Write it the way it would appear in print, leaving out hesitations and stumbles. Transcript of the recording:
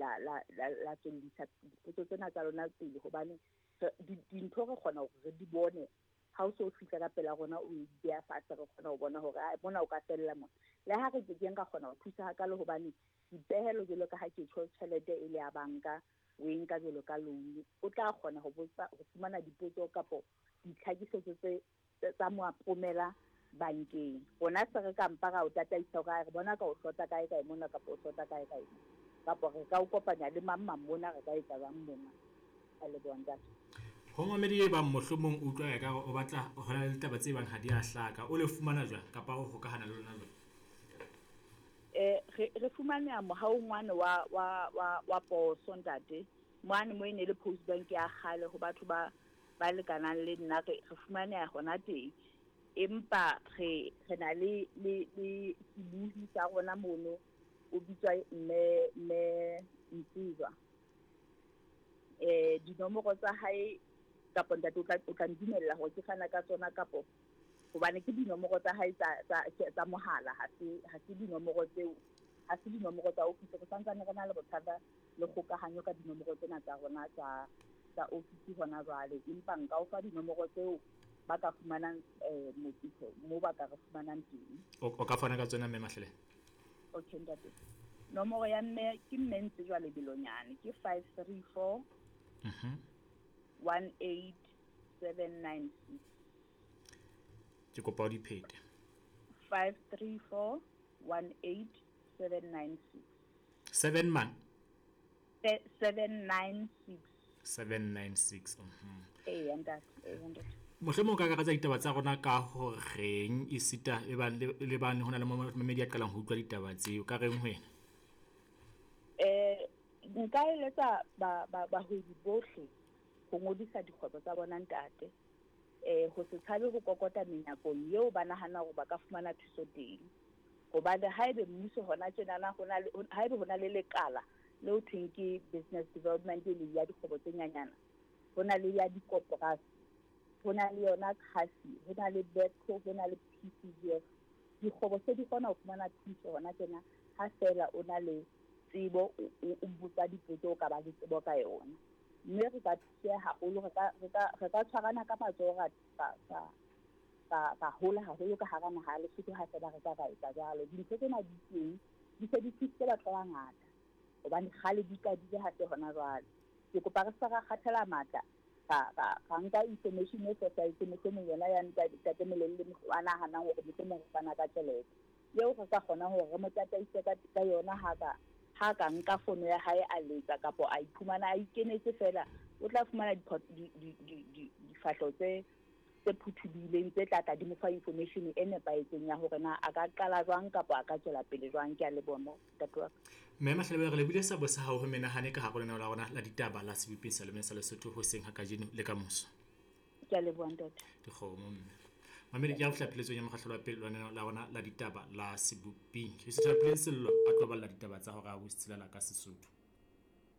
la la la la tswellisa dipotso tsena tsa lona pele, hobane dintho re kgona hore re di bone ha o so fihla ka pela rona, o e beha fatshe, re kgona ho bona hore mona o ka fella mona. Le ha re kekeng ra kgona ho thusa hakalo, hobane dipehelo jwalo ka ha ke tjho, tjhelete e le ya banka, o e nka jwalo ka loan, o tla kgona ho botsa, ho fumana dipotso kapo ditlhakisetso tse tsa moapomela bankeng. Rona se re ka mpa ra o tataisa hore re bona ka o hlota kae kae mona, kapa o hlota kae kae mona, kapa re ka o kopanya le mang mang mona, re ka etsa jwang mona. A leboha, ntate. Ho mamedi e bang mohlomong o utlwa ekare o batla ho na le ditaba tse bang ha di a hlaka, o le fumana jwang kapa o hokahana le lona jwang? Re fumaneha mohaong wane wa poso, ntate. Mane mo e ne le post bank ya kgale, ho batho ba lekanang le nna, re fumaneha hona teng. Empa re na le sebuhi sa rona mono, o bitswa mme Ntsizwa. Dinomoro tsa hae kapa ntate o tla ndumella hore ke fana ka tsona, kapo hobane ke dinomoro tsa hae tsa mohala, ha se dinomoro tseo, ha se dinomoro tsa office. Re santsane re na le bothata le kgokahanyo ka dinomoro tsena tsa rona tsa office hona jwale, empa nka o fa dinomoro tseo ba ka fumanang mo ba ka re fumanang teng. O ka fana ka tsona, mme Mahlele. Okay, ntate. Nomoro ya mme ke mme ntse jwale Belonyane ke 534 18796. Ke kopa o di phete. 534 18796. Seven man? 796. 796. Eya, ntate, eya, ntate. Mohlomong o ka akaretsa ditaba tsa rona ka horeng esita e bang le bane ho na le momamedi a qalang ho utlwa ditaba tseo, ka reng ho yena? Nka eletsa bahwebi bohle ho ngodisa dikgwebo tsa bona, ntate. Ho se tshabe ho kokota menyakong eo ba nahana hore ba ka fumana thuso teng. Hobane haebe mmuso hona tjenana ho na le, haebe hona le lekala le ho thweng ke business development, e leng ya dikgwebo tse nyanyana, ho na le ya dikoporasi, ho na le yona CASI, ho na le BEPCO, ho na le PCGF. Dikgwebo se di kgona ho fumana thuso hona tjena, ha feela o na le tsebo, o botsa dipotso, o ka ba le tsebo ka yona. Mme re ka thuseha haholo, re ka tshwarana ka matsoho, ra hola haholo ka hara naha ya Lesotho ha feela re ka ra etsa jwalo. Dintho tsena di teng, di se di thusitse batho ba bangata, hobane kgale di qadile, ha se hona jwale. Ke kopa re se ra kgathala matla, ra nka information e fosahetseng, mohlomong yona ya ntate Molelle a nahanang hore mohlomong re fana ka tjhelete eo, re ka kgonang hore re mo tataise ka yona. Ha ka nka fono ya hae, a letsa kapo a iphumana a ikenetse fela, o tla fumana difahleho tse phuthulohileng tse tla tla di mo fa information e nepahetseng ya hore na a ka qala jwang kapa a ka tswela pele jwang. Ke a leboha, mo ntate wa ka. Mme Mahlebe, re lebile sabo sa hao ho menahane ka hare ho lenaneo la rona la ditaba la sebopeng sa leme sa Lesotho hoseng ha kajeno le kamoso. Ke a leboha, ntate. Dikgomo, mme mamedi, ke ya ho fihla pheletsong ya mokgahlelo wa pele wa lenaneo la rona la ditaba la seboping. Re sithabile Sello a tlo balla ditaba tsa hora ya botshelela ka Sesotho.